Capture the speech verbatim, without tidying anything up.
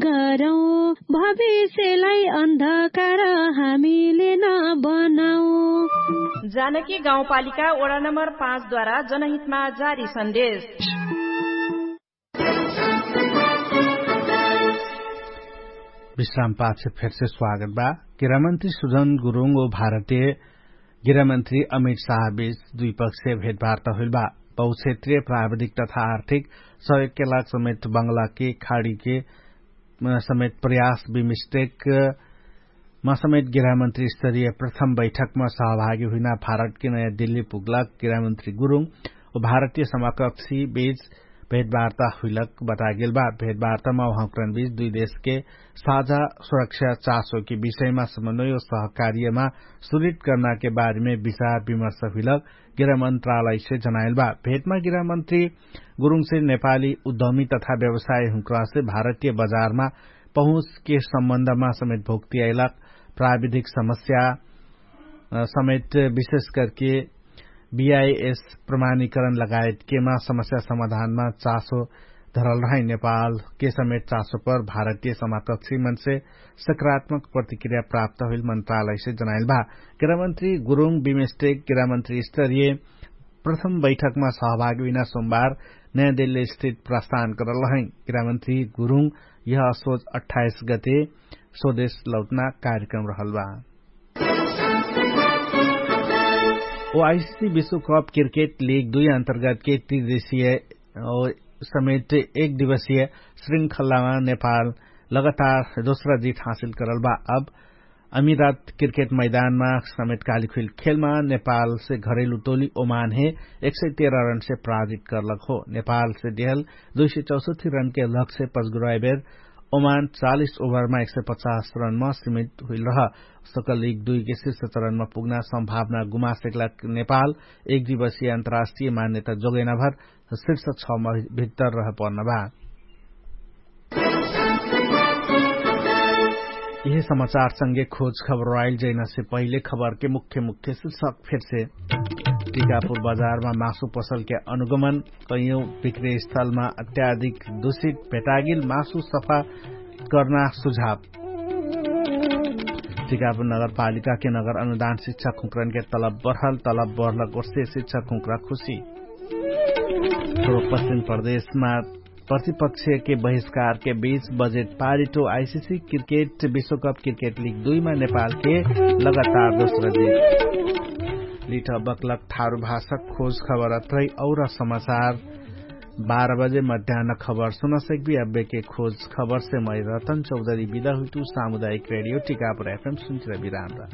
गरौँ, भविष्यलाई अन्धकार हामीले नबनाऊ। जानकी गाउँपालिका वडा नम्बर पाँचद्वारा जनहितमा जारी सन्देश। विश्रामपातसे फेरसे स्वागत बा। गृहमन्त्री सुजन गुरुङ ओ भारतीय गृहमन्त्री अमित शाहबीच दुइपक्षीय भेटवार्ता हुइल बा। बहुक्षेत्रीय प्राविधिक तथा आर्थिक सहयोगके लाग समेत बङ्गलाके खाडीके समेत प्रयास बिमिस्टेक मा समेत गृहमन्त्री स्तरीय प्रथम बैठकमा सहभागी हुइना भारतके नयाँ दिल्ली पुग्लाक गृहमन्त्री गुरुङ ओ भारतीय समाकक्षी बीच भेटवार्ता हुइलक बतागेल बा। भेटवार्तामा उहाँकरण बीच दुइ देशके साझा सुरक्षा चासोके विषयमा समन्वय ओ सहकार्यमा सुरित कर्नाके बारेमे विचार विमर्श हुइलक गृहमन्त्रालयसे जनाइल बा। भेटमा गृहमन्त्री गुरुङसे नेपाली उद्यमी तथा व्यवसाय हुँक्रासे भारतीय बजारमा पहुँचके सम्बन्धमा समेत भोक्तियाइलक प्राविधिक समस्या समेत विशेष करके बिआइएस प्रमाणीकरण लगायतकेमा समस्या समाधानमा चासो धरल रहै नेपालके समेत चासो पर भारतीय समाकक्षी मनसे सकारात्मक प्रतिक्रिया प्राप्त हुइल मन्त्रालयसे जनाइल बा। गृहमन्त्री गुरुङ बिमेस्टेक गृहमन्त्री स्तरीय प्रथम बैठकमा सहभागी हुइना सोमबार नयाँ दिल्ली स्थित प्रस्थान करल रहै। गृहमन्त्री गुरुङ यह असोज अट्ठाइस गते स्वदेश लौटना कार्यक्रम रहल बा। ओ आइसिसी विश्वकप क्रिकेट लिग दुई अन्तर्गतके त्रिदेशीय समेट एक दिवसीय श्रृङ्खलामा नेपाल लगातार दोस्रा जित हासिल करल बा। अब अमिरात क्रिकेट मैदानमा समेट कालिखुइल खेलमा नेपालसे घरेलु टोली ओमानहे एक सय तेह्र रनसे पराजित करलक हो। नेपालसे देहल दुई सय चौसठी रनके लक्ष्य पजगुराइबेर ओमान चालिस ओभरमा एक सय पचास रनमा सिमित हुइल रह सकल लिग दुइके शिर्ष चरणमा पुग्ना सम्भावना गुमासेकला। नेपाल एक दिवसीय अन्तर्राष्ट्रिय मान्यता जोगेनाभर शिर्ष छमा भित्तर रह पर्नभा। यिहे समाचारसँगे खोज खबर आइल जैनासे पहिले खबरके मुख्य मुख्य शिर्षक फेरसे। टिकापुर बजारमा मासु पसलके अनुगमन, कैयौं विक्रेस्थलमा अत्याधिक दुषित भेटागिल मासु सफा कर्ना सुझाव। टिकापुर नगरपालिकाके नगर अनुदान शिक्षा खुँक्रनके तलब बढल तलब बढलक ओर्से शिक्षा खुँक्रा खुशी। पश्चिम प्रदेशमा प्रतिपक्षके बहिष्कारके बीच बजेट पारिटो आइसिसी क्रिकेट विश्वकप क्रिकेट लिग दुइमा नेपालके लगातार दोस्रो जित। लिठ बक्लक ठारु भाषक खोज खबर अत्रै और समाचार बाह्र बजे मध्यान्न खबर सुनसक्बी। अब्बेके खोज खबरसे मै रतन चौधरी बिदा हुइटु सामुदायिक रेडियो टिकापुर एफएम सुन्चिरा बिराम रह।